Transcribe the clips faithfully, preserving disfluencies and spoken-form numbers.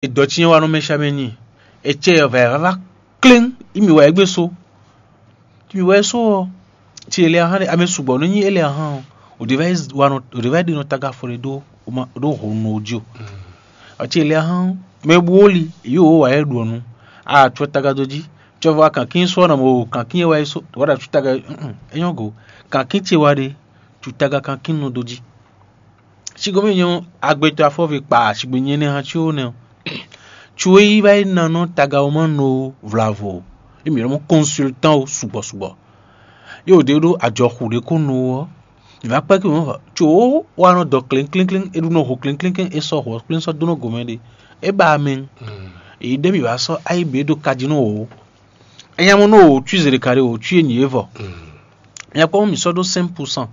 Dɔ cyɛ́n wa nɔ mɛ sha mɛ nyi. Ecɛ vɛ vava kléŋ. Imi wɛ egbe so. Imi wɛ so ɔ. Ti ele ahan ɖe ame sugbɔ nɔ nyi ele ahan ɔ. O de va yi wa nɔ o de va yi ɖe nɔ taga afɔ ɖe ɖo o ma ɖo honu o jí o. Ɔ ti ele ahan mɛ bu wo li yi o wa yɛ ɖu ɔnu. A tsɔ taga do jí. Tsɔ va kankin sɔ na mo kankin yɛ wa yi so wa ɖa tsɔ taga. E nyɔ go. Kankin ce wa ɖe tsɔ taga kankin nɔ do jí. Sigomɛ nyɔ agbetɔ afɔvi kpa sigbe nyɛ nɛ hã tso nɛ. Tso yi va yi na nɔ tagawoma no vlavo. Emi lɔ mɔ consultant o sugbɔ sugbɔ. Yo de ɖo ajɔxu ɖe ko no ɔ. Mi va kpɛ ki mɔ tso wa nɔ dɔ klɛn klɛn klɛn e ɖu nɔ ho klɛn klɛn klɛn e sɔ ho klɛn sɔ do nɔ gomɛ ɖe. E ba mɛ. E ɖe mi va sɔ ayi be ɖo kaji nɔ o. Enya mɔ nɔ o tui zele kari o tui enyi evɔ. Nya kpɔn mi sɔ ɖo cinq pour cent.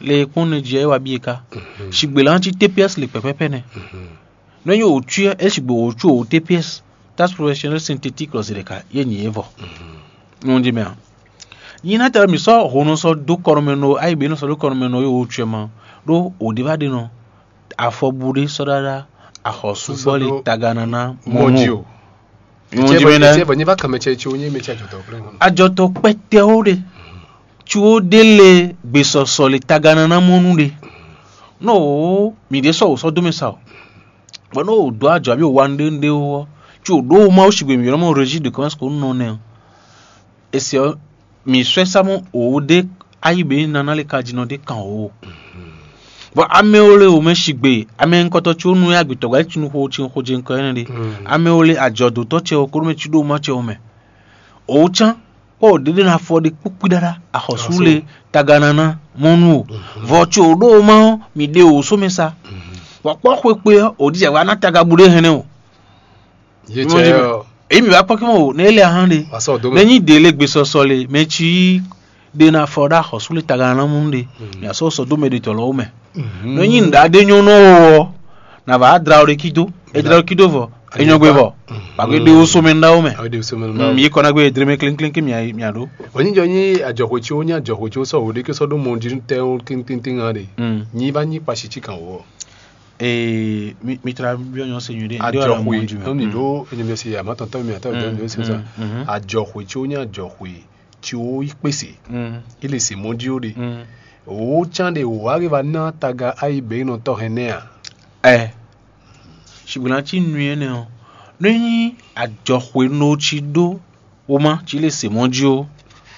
Le kpɔn ne jɛ wa bi ka. Sigbe la ti T P S le pɛpɛpɛ nɛ. Nɔ nyi o tui e sigbe o tui o T P S. Taxe professionnelle synthétique lɔ zele ka ye nyi evɔ. Nɔ di mɛ a. Nyi na tɛ mi sɔ ho nɔ sɔ do kɔnɔ mɛ nɔ ayi be nɔ sɔ do kɔnɔ mɛ nɔ ye o tui ma. Ɖo o de va de nɔ. Afɔbu ɖé sɔ́ ɖaɖa axɔsúgbɔ́li taganana mɔnú. Mɔdzi o. Ìwọ̀n jí mi nɛ. Tiɛ bɔ nyi va kàn mɛ cɛ tso nyé mɛ cɛ jɔtɔ kplé ŋɔnɔ. Ajɔtɔ kpɛtɛwo ɖe. Tso ɖé le gbesɔsɔ le taganana mɔnú ɖe. Nɔ o mi ɖe sɔ o sɔ dome sa o. Bɔ nɔ o do ajɔ abi o wa nu ɖe nu ɖe o ɔ. Tso ɖo o ma o sigbe mi yɔrɔ mɔ régie de commerce ko nɔ nɛ o. Esi ɔ mi sɔ́ ɛ sá mɔ òwú ɖé ayíbe nana lé ka jí nɔ ɖé kan o. Bɔ amɛ wo le wò mɛ sigbe amɛ ŋkɔtɔ tso nu ya gbitɔ gba tinu xo tsin xo jɛ ŋkɔ ɛnɛ ɖe. Amɛ wo le ajɔdotɔ cɛ o kóɖó mɛ tsi ɖo ma cɛ o mɛ. Òwú tsán kpɔ o ɖeɖe na fɔ ɖe kpukpi ɖaɖa axɔsu le taganana mɔnu o. Vɔ tso ɖo ma ɔ mi ɖe o só mɛ sa. Bɔ kpɔ xwe kpe ɔ o ɖi jɛ wa na tagabu ɖe hɛnɛ o. Yé cɛ ɔ. Èyí mi wá kpɔ́ kí mɔ o ne ele ahán ɖe. Wà sɔ dó mɛ. Ne nyi ɖe le gbesɔsɔ le mɛ tsi ɖe na fɔ ɖa xɔsú le taga na mú ɖe. Mi asɔ sɔ dó mɛ ɖe tɔ lɔ wo mɛ. Ne nyi nɖa ɖe nyɔ nɔ wo ɔ na va dra o ɖe kido. E dra o kido vɔ e nyɔ gbe vɔ. Ba gbe ɖe wo so mɛ nɖa wo mɛ. Awo de sɔmɛ Mm, ma. Yi kɔna gbe edre mɛ klinklinki mia mia ɖo. Onyi jɔ nyi ajɔxwe tsi wo nyi ajɔxwe tsi wo sɔ wo ɖe ke sɔ ɖo mɔ di tɛ wo tintintin hã ɖe. Mm. Nyi va nyi kpasi tsi kan wo. Ee, mi mi tra biɔ nyɔ se nyuie ɖe. Nde wala Ajɔxwe mɔ di mɛ. Nɔ ni ɖo enyɛmɛ se ya ma tɔntɔn mi ata ɖo enyɛmɛ se sa. Ajɔxwe tsi wo nyi ajɔxwe tsi wo yi kpese. Mm. Ele se mɔ di wo ɖe. Mm. Wo tsan ɖe wo ari va na taga ayi be nɔ tɔ hɛn nɛ a. Ɛ. Sigbe na tsi nui énɛ́ ɔ́, nú é nyí ajɔxwenu ɔ́ cí ɖó wóma cí lě se mɔ̌ jí ó,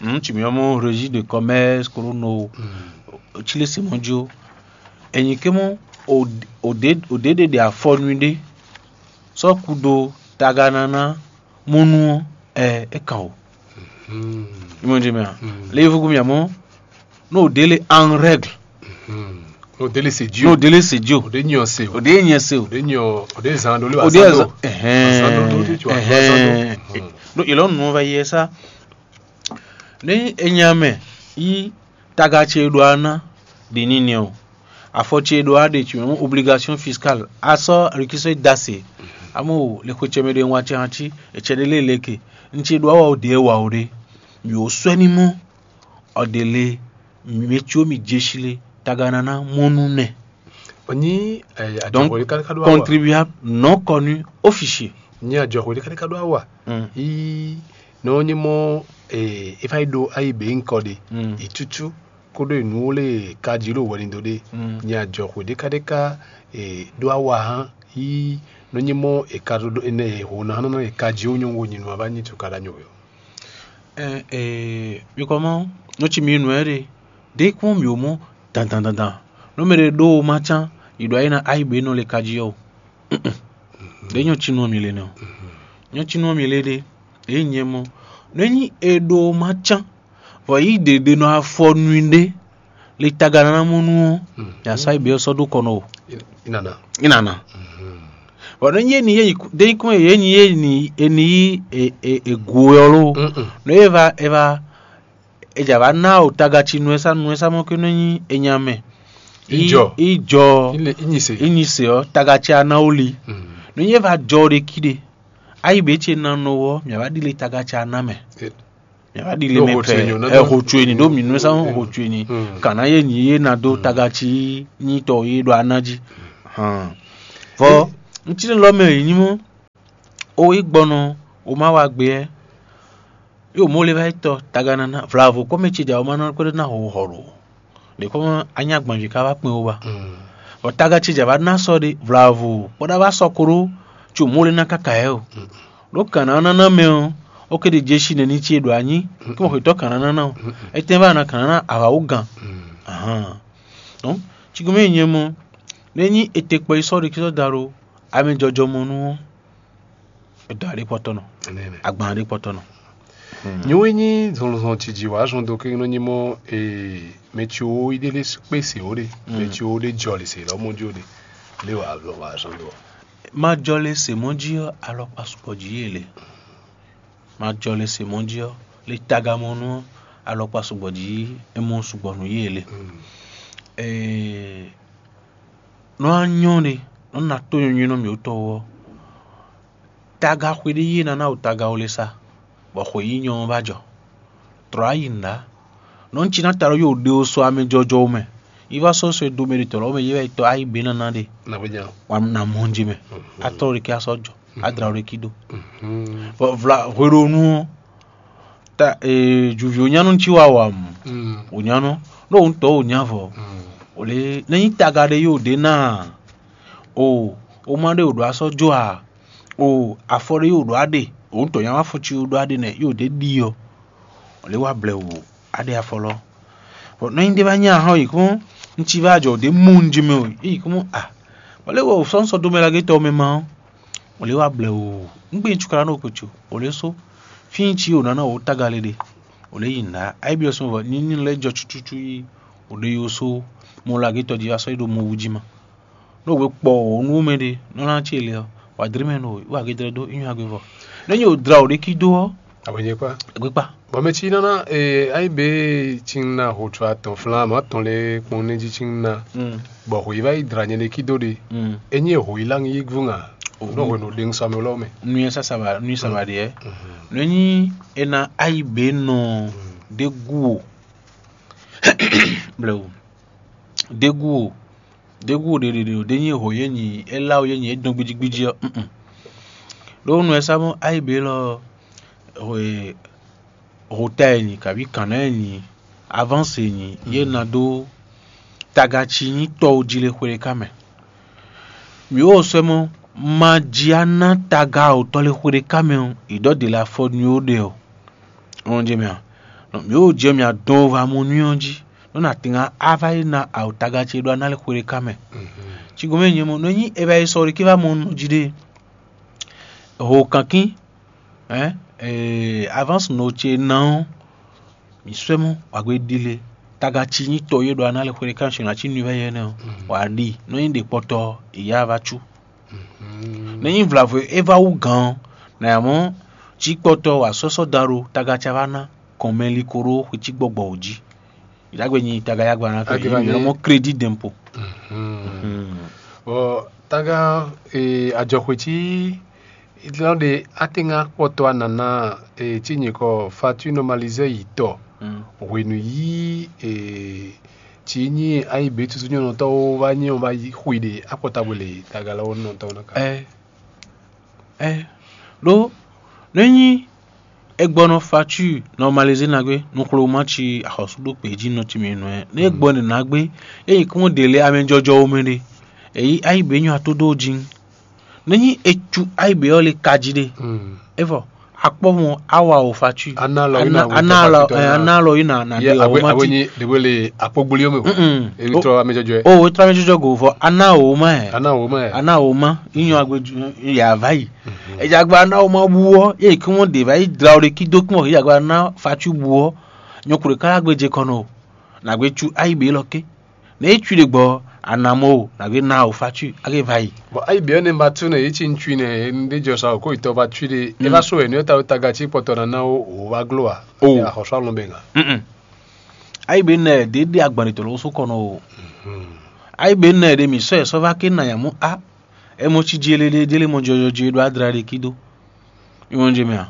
nǔ ci mǐ ɔ́ mɔ régie de commerce kóɖó no cí lě se mɔ̌ jí ó. È nyǐ ké mɔ ò ɖě ɖe ɖe afɔ nú i ɖé, sɔ́ kú dó taga ná ná mɔ́ nú ɔ́, ɛ é kan o. Ìmọ̀ jɛ mɛ a? Lé fúkú mì àmọ́, nú ò ɖě le en règle. O délé se Dieu. Nú ò délé se jí o. O de nyɔ se o. Ò ɖě nyɛ se o. O de nyɔ o de zan ɖo lé wa Ò ɖě zan zan ɖo. Ɛhɛn. Zan ɖo ɖo tí tu wa zan ɖo. Ɛhɛn. Ɖó ìlɔ nù va yɛ sá. Ní enya mɛ yí taga ce ɖo aná ɖi ní nɛ o. Afɔ ce ɖo aɖe tsi mɛ obligation fiscale. A sɔ rikisɔ da se. Amo le xwe ce mɛ ɖe wa ce hã tsi etsɛ ɖe lé leke. N ce ɖo awa o de wa o ɖe. Mi o sɔ ni mɔ. Ɔ ɖe le mi tso mi dze si le taga nana mɔnu nɛ. Onyi Donc, ajɔxɔ ɖe kaka ɖo awa. Contribuable non connu officier. Nyi ajɔxɔ ɖe kaka ɖo awa. Mm. Yi nɔ nyi mɔ e e fa yi ɖo ayi be ŋkɔ ɖe. Mm. Itutu koɖo enu wo le kaji ɖo wɛni do ɖe. Mm. Nyi ajɔxɔ ɖe ka ɖe ka e ɖo awa hã yi nɔ nyi mɔ e ka ɖo ɖo ene e ho na hã nɔ e kaji wo nyɔ wo nyi nu ava nyi tu ka ɖa nyɔ we. Ɛɛ, ɛɛ, mi kɔ mɔ, nɔ ci mi nɔ ɛ ɖe, ɖe kpɔn mi o mɔ dandan dandan. Nɔ mɛ ɖe ɖo o ma can, yi ɖo ayi na ayi be nɔ le kaji ɔ. Ɖe nyɔ ci nɔ mi le nɛ o. Nyɔ ci nɔ mi le ɖe, e nyɛ mɔ. Nɔ nyi e ɖo o ma can, vɔ yi ɖe ɖe nɔ afɔ nui ɖe, le taga nana mɔ nu ɔ, ya sa yi be ɔ sɔ ɖo kɔ nɔ o. Inana. Inana. Bɔn nɔ nyi e ni ye yi ɖe nyi kɔn ye nyi ye ni e ni yi e e e gu ɔ lo. Nɔ ye va e va e dza va na o taga ci nuɛsa nuɛsa mɔ ke nɔ nyi e nya mɛ. Ijɔ. Ijɔ. Inyi se. Inyi se ɔ taga ci ana o li. Nɔ nyi e va jɔ ɖe ki ɖe. Ayi be ce na nɔ wɔ mia va ɖi le taga ci ana mɛ. Mia va ɖi le mɛ pɛ. Ɛ ho tso eni ɖo mi nuɛsa ho tso eni. Kana ye nyi ye na do taga ci nyi tɔ ye ɖo ana ji. Vɔ ŋutsi lɔ mɛ yi nyi mɔ. O yi gbɔnɔ, o ma wa gbe ɛ. Yo mo le va yi tɔ taga nana vlavo kɔmɛ ce ja o ma nɔ kpɛɖe na ho hɔ ɖo. Ɖe kɔmɛ anya gbɔn ji ka va kpɛn o ba. Bɔ taga ce ja va na sɔ ɖe vlavo kpɔɖa va sɔ koro tso mo le na kaka ɛ o. Ɖo kana nana mɛ o, o ke ɖe jeshi nɛ ni ce ɖo anyi kí mo xetɔ kana nana o. Etɛn va na kana na avawo gan. Ahan. Donc, tsigɔmɛ nyɛ mɔ, ne nyi ete kpɔ yi sɔ ɖe kí sɔ da ɖo amɛ jɔjɔ mɔ nu ɔ, e dɔ aɖe kpɔtɔ nɔ, agban aɖe kpɔtɔ nɔ. Nyo e nyi zɔnzɔn ciji wǎ zɔn dó ké nɔ nyi mɔ ee mɛ ci wo yi ɖe lé kpé se wo ɖe, mɛ ci wo ɖe jɔ le se lɔ mɔ jí wo ɖe lé wǎ wǎ zɔn dó. Ma jɔ le se mɔ jí ɔ, alɔkpa sukpɔ jí yě le. Ma jɔ le se mɔ jí ɔ, le taga mɔ nu ɔ, alɔkpa sukpɔ jí e mɔ sukpɔ nú yě le. Ee, nɔ anyɔ ɖe, nɔ na tó nyɔnywɛ nɔ mǐ wotɔ wɔ. Taga xwe ɖé yí ná ná o taga o le sa, bɔ xwe yí nyɔ ɔ́ va jɔ. Trɔ̌ ayi nǔɖá. Nɔ un cí ná ta ɖó yóò ɖe o sɔ amɛ jɔjɔ o mɛ. Yi va sɔ́ sɔ e do mɛ ɖe tɔ̌ lɔ́ mɛ yé wɛ yi tɔ ayi bě ná ná ɖe. Na mɔ njí mɛ. A trɔ́ ɖe kí a sɔ́ jɔ. A dra ɖe kí ɖó. Bɔ vla hweɖonu ɔ́, ta ee jǔví onyánú cí wa wa mù. Onyánú ɖó òun tɔ́ onyá vɔ. O lě nɛ nyí taga ɖé yóò ɖe ná a? O o ma ɖe o ɖo asɔ́ jó a? O afɔ ɖé yóò ɖo aɖe, òun tɔ́ nyá wá fɔ cí o ɖo aɖe nɛ yóò ɖe ɖi ɔ. O lě wa blɛ wò aɖe afɔ lɔ. Bɔ nɔ nyi ɖé va nyí ahɔn yi kún un ci va jɔ ɖě mɔ un jí mɛ o yi kún a? Bɔ lě wɔ sɔ́nsɔ dó mɛ lagé tɔ mɛ ma ɔ́, o lě wa blɛ o un gbe ŋcu kala nɔ kpotso o lě só fí un ci o nǎ nɔ o tága le ɖe. O lě yi nǔɖá ayi byɔ́ sɔn vɔ ní ní lɛ́ jɔ cucucu yi o ɖe yo só mɔ lagé tɔ jí asɔ́ yi ɖo mɔ wú jí ma. Nú we kpɔ o nú mɛ ɖé nɔ ná ce le ɔ́, wa dlé mɛ nɔ wa gédrɛ dó inyu agbe vɔ. Nɔ nyi o dla o ɖe kí dó ɔ́, Abɔnyɛkpa. Gbekpa. Bɔ mɛ cí nɔ ná ee ayi be cí ná ho tsɔ atɔn flán mɔ atɔn lé kpɔn ní jí cí ná. Bɔ ho yi va yi dla nyɛ ɖe kí dó ɖe. Enyi ho yi lá yí vú ŋa. Nɔ hwenu ɖe ŋsɔ amɛ lɔ mɛ. Nuyɛ sasa ba nuyɛ saba ɖe yɛ. Nɔ nyi ena ayi be nɔ ɖe gu o. Blewu. Ɖe gu o. Ɖe gu o ɖeɖeɖe o ɖe nyi ho yé nyi é lá o yé nyi é dɔn gbidjigbidji ɔ́. Ɖó nú ɛ sá mɔ ayi be lɔ hota e nyi kabi kǎnná e nyi avance e nyi yé ná dó tagaci nyí tɔwo jí lé xwé ɖé ká mɛ. Mǐ wo sɔ́ mɔ ma jí á ná taga awǒtɔ́ lé xwé ɖé ká mɛ ɔ́, yi ɖɔ ɖě lɛ́ɛ afɔ nú yó ɖe ɔ́. Ɔn jɛ mɛ a? Mǐ wo jɛ mǐ adɔn va mɔ nú ɔ́ jí, nɔ na tɛnga á va yi ná awǒtaga ce ɖó aná lé xwé ɖé ká mɛ. Cigɔn mɛ nyɛ mɔ nɔ nyí é va yi sɔ ɖé ké va mɔ nɔ jí ɖe. Ho kankín, avance nɔ ce ná ɔ́, mǐ sɔ́ mɔ wǎgbé ɖi lé. Taga ci nyí tɔ yé ɖo aná lé xwé ɖé ká mɛ sɔ nǎ cí nuvɛ́ yɛ nɛ ɔ́, wǎ ɖi nɔ nyí ɖě kpɔtɔ ìyá va cú. Nɛ nyí vlavo e é va wú gǎn ɔ́, nǎ mɔ cí kpɔtɔ wǎ sɔ́ sɔ́ da ɖo taga ce va ná kɔn mɛ li ko ɖó xwe cí gbɔgbɔ wǒ jí. Ìdágbé nyi taga yagba ná fɛ Agba yě ní mɔ crédit d'impôt. Bɔ taga ajɔxwe cí lɔ ɖe atenga kpɔtɔ anana cí nyikɔ fatu normalisé yi tɔ hwenu yí cí nyi ayi be tutu nyɔnɔtɔwo va nyi ɔn va yi xwi ɖe akpɔta bwe le taga lɔ nɔtɔwo nɔ ka. Ɛ ɛ ɖó nɛ nyi egbɔnɔ fatu normalisé nagbe nuxloma ci axɔsu ɖo kpě jí nɔ ci mɛ nɔ ɛ ne egbɔnɔ nagbe eyi kún ɖe lé amɛ jɔjɔ wo mɛ ɖe eyi ayi be nyɔ ato ɖo jí. Nɛ nyi ecu ayi be ɔ le kaji ɖe evɔ akpɔ mɔ awa o fatu Ana lɔ yi na ana alɔ ana alɔ yi na na de o ma ti. Ɖewe le akpɔgboli yɔ mɛ o. Ebi tɔ amɛjɔjɔ yɛ. O wetrɔ amɛjɔjɔ go vɔ ana o ma yɛ. Ana o ma yɛ. Ana o ma inyɔ agbe ya va yi. Edze agba ana o ma bu ɔ ye kí wọn de va yi dla o de kí dó kí wọn yí agba ana fatu bu ɔ nyɔkuru kala gbe je kɔnɔ o. Nagbe cu ayi be lɔ ke. Ne yi cui ɖe gbɔ anamɔ o nagbe na o fatu age va yi. Bɔ ayi be ɔ ne ba tu ne yi ci ŋcui ne ɖe jɔ sa o ko itɔ va cui ɖe e va so wɛ ne ta ta ga ci kpɔtɔ na na o o va glo a. O axɔsɔ alɔn bɛ ŋa. Ayi be nɛ ɖe ɖe agban ɖe tɔ lɔ so kɔnɔ o. Ayi be nɛ ɖe mi sɔ ɛ sɔ va ke na yamu a. Ɛ mɔ ci dzi ele ɖe dzi ele mɔ jɔjɔ dzi ɖo adra ɖe ki do. Iwɔn dzi mɛ a.